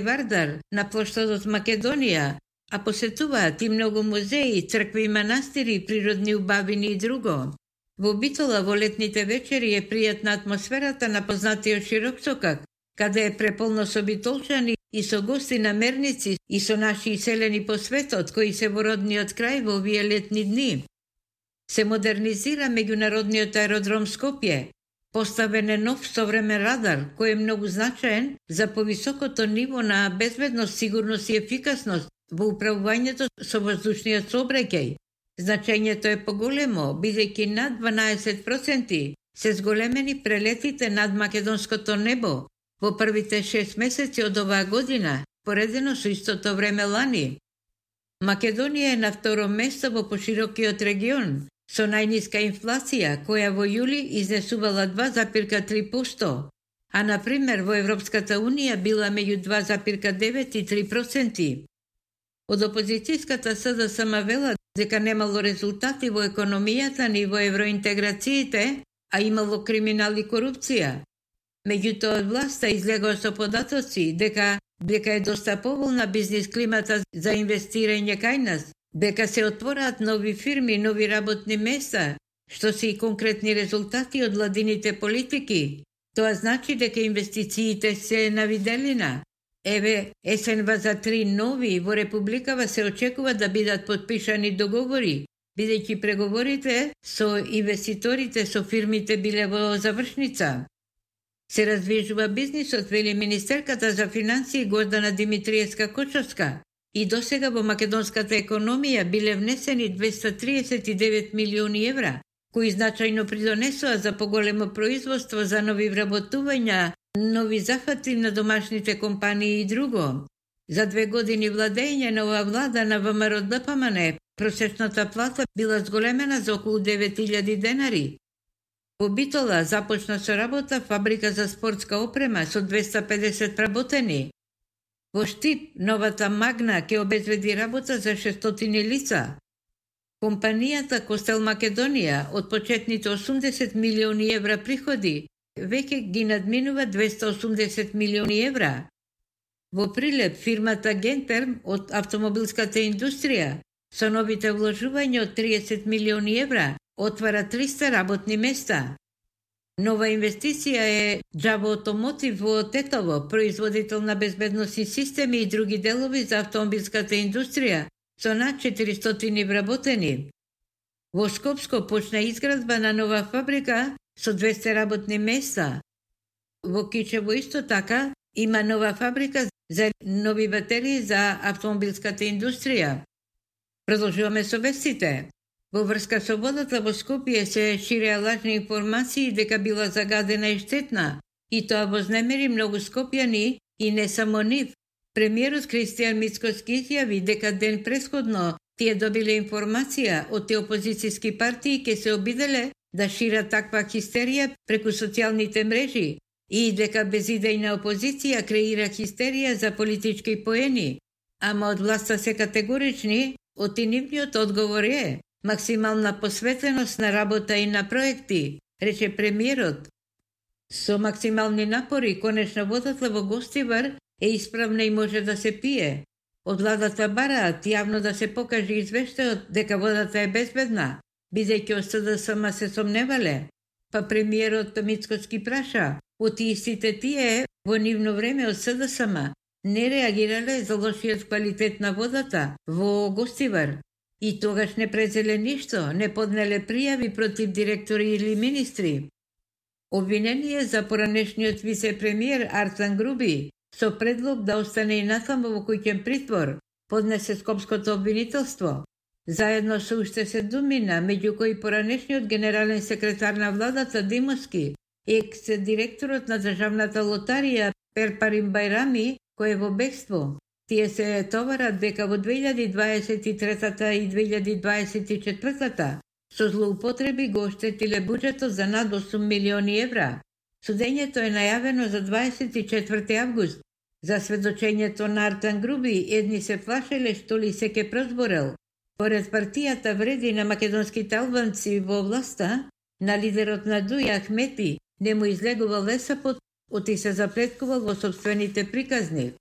Вардар на плоштадот Македонија, а посетуваат и многу музеи, цркви и манастири, природни убавини и друго. Во Битола во летните вечери е пријатна атмосферата на познатиот широк сокак, каде е преполно со битолчани и со гости намерници и со наши иселени по светот, кои се во родниот крај во овие летни дни. Се модернизира меѓународниот аеродром Скопје. Поставен е нов современ радар, кој е многу значаен за повисокото ниво на безбедност, сигурност и ефикасност во управувањето со воздушниот сообраќај. Значењето е поголемо, бидејќи над 12% се зголемени прелетите над македонското небо во првите 6 месеци од оваа година, поредено со истото време лани. Македонија е на второ место во поширокиот регион, со најниска инфлација, која во јули изнесувала 2,3%, а на пример во Европската Унија била меѓу 2,9 и 3%. Од опозицијската СДСМ вела дека немало резултати во економијата ни во евроинтеграциите, а имало криминал и корупција. Меѓутоа од власта излегоа со податоци дека е доста поволна бизнис климата за инвестирање кај нас, дека се отвораат нови фирми, нови работни места, што се и конкретни резултати од владините политики. Тоа значи дека инвестициите се на виделина. Еве, есенва за 3 нови во Републикава се очекува да бидат подпишани договори, бидејќи преговорите со инвеститорите со фирмите биле во завршница. Се развижува бизнисот, вели министерката за финансии Гордана Димитриевска-Кочовска, и досега во македонската економија биле внесени 239 милиони евра, кои значајно придонесоа за поголемо производство, за нови вработувања, нови зафати на домашните компании и друго. За 2 години владење на оваа влада на ВМРО-ДПМН, просечната плата била зголемена за околу 9000 денари. Во Битола започна со работа фабрика за спортска опрема со 250 работени. Во Штип, новата Магна ќе обезбеди работа за 600 лица. Компанијата Костел Македонија од почетните 80 милиони евра приходи веќе ги надминува 280 милиони евра. Во Прилеп, фирмата Гентерм од автомобилската индустрија со новите вложувања од 30 милиони евра отвара 300 работни места. Нова инвестиција е Джаво Automotive во Тетово, производител на безбедносни системи и други делови за автомобилската индустрија, со над 400 вработени. Во Скопско почна изградба на нова фабрика со 200 работни места. Во Кичево исто така има нова фабрика за нови батерии за автомобилската индустрија. Продолжуваме со вестите. Во врска со водата во Скопје се ширеа лажни информации дека била загадена и штетна, и тоа вознемери многу скопјани и не само нив. Премиерот Кристијан Мицкоски изјави дека ден претходно тие добиле информација од тие опозицијски партии ке се обиделе да шират таква хистерија преку социјалните мрежи и дека безидејна опозиција креира хистерија за политички поени. Ама од власта се категорични, од нивниот одговор е максимална посветеност на работа и на проекти, рече премиерот. Со максимални напори, конечно водата во Гостивар е исправна и може да се пие. Од владата бараат јавно да се покаже извештајот дека водата е безбедна, бидејќи од СДСМ се сомневале. Па премиерот Мицкоски праша, од истите тие во нивно време од СДСМ не реагирале за лошиот квалитет на водата во Гостивар. И тогаш не презеле ништо, не поднеле пријави против директори или министри. Обвинение за поранешниот вице-премиер Арцан Груби со предлог да остане и натаму во куќен притвор, поднесе Скопското обвинителство. Заедно со уште 7 меѓу кои поранешниот генерален секретар на владата Димовски, екс-директорот на државната лотарија Перпарим Бајрами, кој е во бегство. Тие се товарат дека во 2023 и 2024 со злоупотреби го оштетиле буџетот за над 8 милиони евра. Судењето е најавено за 24 август. За сведочењето на Артан Груби, едни се плашеле што ли се ке прозборел. Поред партијата вреди на македонските албанци во власта, на лидерот на Дуја Ахмети не му излегувал лесапот, оти се заплеткувал во собствените приказни.